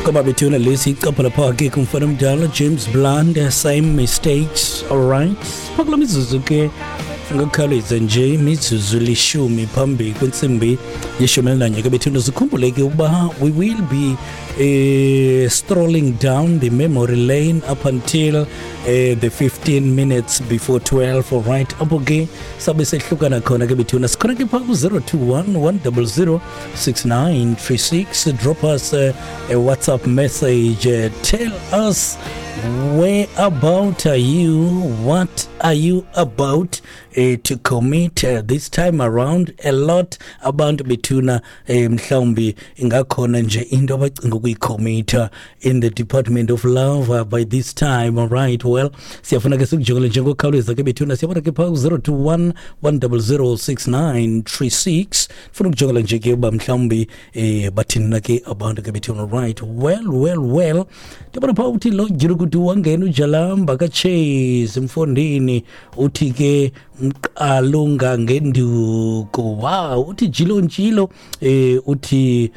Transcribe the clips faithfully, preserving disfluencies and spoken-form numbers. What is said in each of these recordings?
Ngoba bethuna lesi icapha lapha ke kumfana omdala James Blunt, "Same Mistakes". Alright, phakula mizuzu ke ngokukhawuleza nje, imizuzu lishumi phambi kwentsimbi yeshumi elinanye ke bethuna. Zikhumbule ke ukuba we will be uh, strolling down the memory lane up until uh, the fifteen minutes before twelve, alright, apho ke sabe sehlukana khona ke bethuna. Sikhona ke phaa ku-zero two one one zero zero six nine three six. Drop us uh, a WhatsApp message. uh, tell us where about are you, what are you about uh, to commit uh, this time around. A lot abantu bethuna, eh, mhlawumbi ingakhona nje into abacinga ukuyicommitha in the department of love uh, by this time. All right, well, siyafuna ke sikujongele njengokhawuleza ke bethuna. Siyabona ke phaa ku-zero two one one zero zero six nine three six. Funa ukujongela nje ke uba mhlawumbi eh bathini na ke abantu ke bethuna. Right, well well well ndiyabona phaa uthi lo jirukuthi wangena ujalamba kaChase mfondini, uthi ke mqalunga ngenduku. Wow, uthi jilo njilo, eh uthi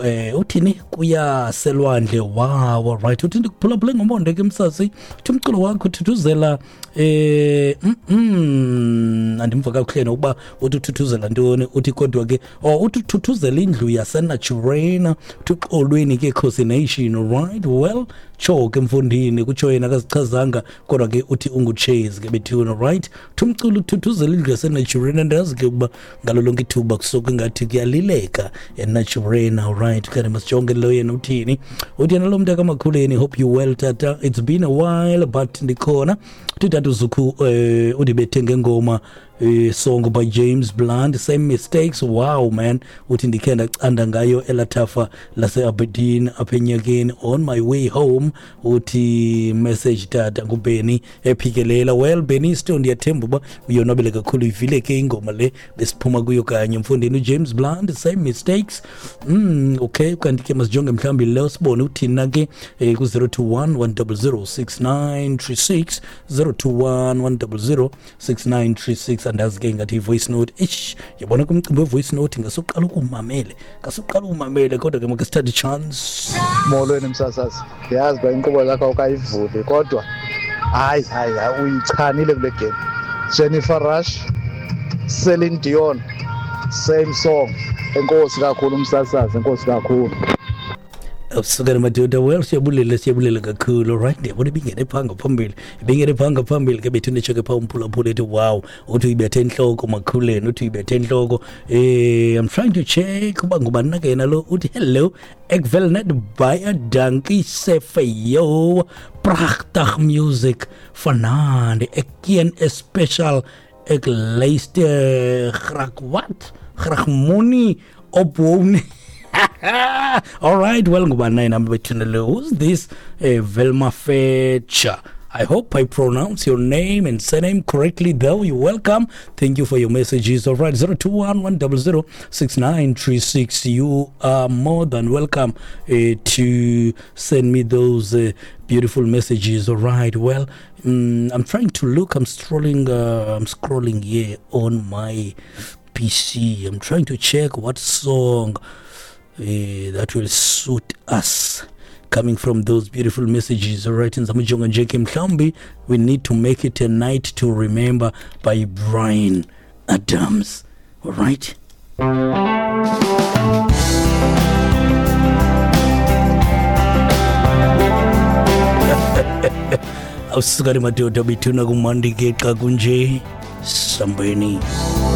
eh uthini kuyaselwandle. Wow, right, uthi ndikuphulaphule ngomonde ke msasi, uthi umculo wakho uthuthuzela eh mm, mm andimva kakuhle nokuba uthi uthuthuzela ntoni. Uthi kodwa ke, oh, uthi uthuthuzela indlu yaseNaturena. Uthi uxolweni ke, Khosi Nation. Right, well, tsho ke mfundini, kutsho yena akazichazanga, kodwa ke uthi unguChase ke bethuna. Right, uthi umculo uthuthuzela indlu yaseNaturena. Ndazi ke ukuba ngalo lonke ithuba kusuke ngathi kuyalileka eNaturena. Right, kanti masijonge lo yena uthini. Uthi yena lo mntu akamakhuleni, "Hope you well, tata. It's been a while, but ndikhona." Uthi tata uZukhu eh undibethe ngengoma, eh song by James Blunt, "Same Mistakes". Wow man, uthi ndikhe ndacanda ngayo elathafa lase Aberdeen apha enyakeni on my way home. Uthi message tata nguBenny ephikelela. Well, Benny still ndiyathemba uba uyonwabele kakhulu. Ivile ke ingoma le besiphuma kuyo kanye mfundini, uJames Blunt, "Same Mistakes". mm okay kanti ke masijonge mhlawumbi lo sibone uthina ke eh, ku zero two one one zero zero six nine three six, zero two one one zero zero six nine three six. Andazi ke, ngathi i-voice note. Ish, yabona kumcimbi we-voice note ngasuqala ukumamele ngasuqala ukumamele kodwa ke make sithathe i-chance. Molweni msasazi, ndiyazi uba inkqubo zakho awukayivuli, kodwa hayi hayi hayi, uyichanile kule game. Jennifer Rush, Celine Dion, "Same Song". Enkosi kakhulu umsasazi, enkosi kakhulu. Awusukela madoda. Well, siyabulela, siyabulela kakhulu. Right, ndiyabona ibingene phaa ngaphambili, ibingene phaa ngaphambili ke bethu. Nditsho ke phaa umphulaphula ethi wow, uthi uyibethe entloko makhuleni, uthi uyibethe entloko. eh I'm trying to check uba ngubani na ke yena lo. Uthi hello, ek wil net baie dankie sê vir jou pragtig music vanaand. Ek ken 'n special, ek luister graag, wat graag, moenie ophou nie. All right, well, ngubani yena bethuna lo? Who's this? uh, Velma Fetcher. I hope I pronounce your name and surname correctly, though. You're welcome. Thank you for your messages. All right, zero two one one zero zero six nine three six. You are more than welcome uh, to send me those uh, beautiful messages. All right, well, um, I'm trying to look. I'm scrolling, uh, I'm scrolling here on my P C. I'm trying to check what song uh, that will suit us coming from those beautiful messages. All right, ngizamujonga nje ke mhlawumbi we need to make it "A Night to Remember" by Bryan Adams. All right. Awusukani madoda bethuna, kumandi ke xa kunje. Sambeni.